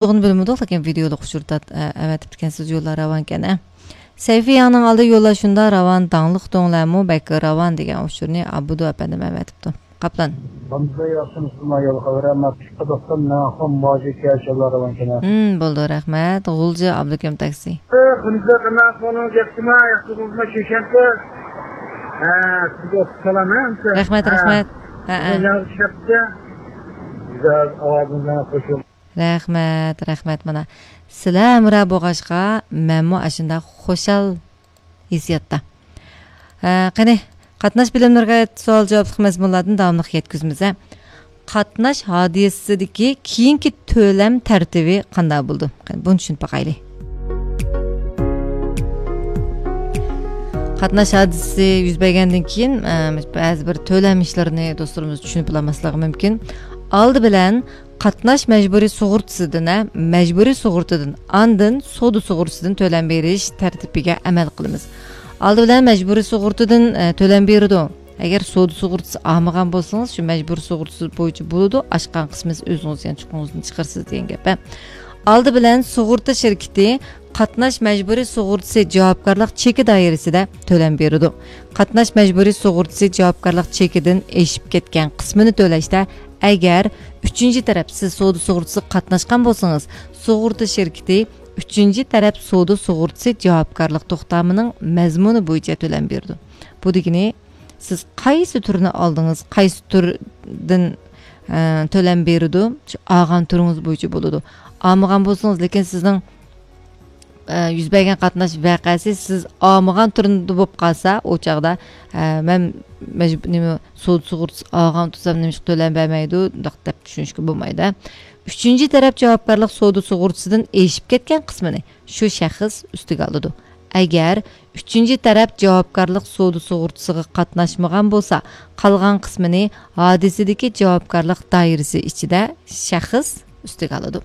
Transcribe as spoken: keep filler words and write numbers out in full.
تولۇقىنى بىلمىدۇق، لېكىن ۋىدېئولۇق ئۇچۇر تارت-، ئە، ئەۋەتىپتىكەنسىز، يوللار راۋانكەن، ئە. سەيفىيانىڭ ئالدى يوللار شۇنداق راۋان، داڭلىق دۆڭلەرمۇ بەك راۋان دېگەن ئۇچۇرنى ئابدۇ ئەپەندىم ئەۋەتىپتۇ. قاپلان. ھەمزە ياخشىمۇسىلما يول خەۋەر، ئەمما قىسقا توختام، مەن ئاخشام ماجىكى ئاشۇلار راۋانكەن، ئە. ھىم، بولدى، رەھمەت. غۇلجا ئابلىكىم تاكسى. ئە، خۇنزا قانداق بولۇڭ، ياخشىما، ياخشىمۇسىلما، چۈشەنتى. ھە، سىزگە سالام، ھە. رەھمەت، ھە. رەھمەت. ھە، ھە. ياخشى چۈشەنتى. گۈزەل ئاۋازىڭىز بىلەن خوش. رەھمەت، رەھمەت. مانا، سىلەر ھەمراھ بولغاچقا، مەنمۇ ئاشۇنداق خۇشال ھېسسىياتتا. ھە، قېنى، قاتناش بىلىملىرىگە ئائىت سوئال-جاۋابلىق مەزمۇنلاردىن داۋاملىق يەتكۈزىمىز، ھە. قاتناش ھادىسىسىدىكى كېيىنكى تۆلەم تەرتىپى قانداق بولىدۇ؟ قېنى، بۇنى چۈشىنىپ باقايلى. قاتناش ھادىسىسى يۈز بەرگەندىن كېيىن، ئە، بەزى بىر تۆلەم ئىشلىرىنى دوستلىرىمىز چۈشىنىپ بولالماسلىقى مۇمكىن. ئالدى بىلەن قاتناش مەجبۇرىي سۇغۇرتىسىدىن، ھە، مەجبۇرىي سۇغۇرتىدىن، ئاندىن سودا سۇغۇرتىسىدىن تۆلەم بېرىش تەرتىپىگە ئەمەل قىلىمىز. ئالدى بىلەن مەجبۇرىي سۇغۇرتىدىن، ئە، تۆلەم بېرىدۇ. ئەگەر سودا سۇغۇرتىسى ئالمىغان بولسىڭىز، شۇ مەجبۇرىي سۇغۇرتىسى بويىچە بولىدۇ، ئاچقان قىسمىڭىز ئۆزىڭىز يەنە چوقۇڭىزدىن چىقىرىسىز دېگەن گەپ، ھە. ئالدى بىلەن سۇغۇرتا شىركىتى قاتناش مەجبۇرىي سۇغۇرتىسى جاۋابكارلىق چېكى دائىرىسىدە تۆلەم بېرىدۇ. قاتناش مەجبۇرىي سۇغۇرتىسى جاۋابكارلىق چېكىدىن ئېشىپ كەتكەن قىسمىنى تۆلەشتە، ئەگەر ئۈچىنچى تەرەپ، سىز سودا سۇغۇرتىسىغا قاتناشقان بولسىڭىز، سۇغۇرتا شىركىتى ئۈچىنچى تەرەپ سودا سۇغۇرتىسى جاۋابكارلىق توختامىنىڭ مەزمۇنى بويىچە تۆلەم بېرىدۇ. بۇ دېگىنى، سىز قايسى تۈرنى ئالدىڭىز، قايسى تۈردىن، ئە، تۆلەم بېرىدۇ، شۇ ئالغان تۈرىڭىز بويىچە بولىدۇ. ئالمىغان بولسىڭىز، لېكىن سىزنىڭ، ئە، يۈز بەرگەن قاتناش ۋەقەسى سىز ئالمىغان تۈرىدە بولۇپ قالسا، ئۇ چاغدا، ئە، مەن مەجبۇ-، نېمە، سودا سۇغۇرتىسى ئالغان تۇرسام، نېمىشقا تۆلەم بەرمەيدۇ، دەپ چۈشىنىشكە بولمايدۇ. ئۈچىنچى تەرەپ جاۋابكارلىق سودا سۇغۇرتىسىدىن ئېشىپ كەتكەن قىسمىنى شۇ شەخس ئۈستىگە ئالىدۇ. ئەگەر ئۈچىنچى تەرەپ جاۋابكارلىق سودا سۇغۇرتىسىغا قاتناشمىغان بولسا، قالغان قىسمىنى ھادىسىدىكى جاۋابكارلىق دائىرىسى ئىچىدە شەخس ئۈستىگە ئالىدۇ.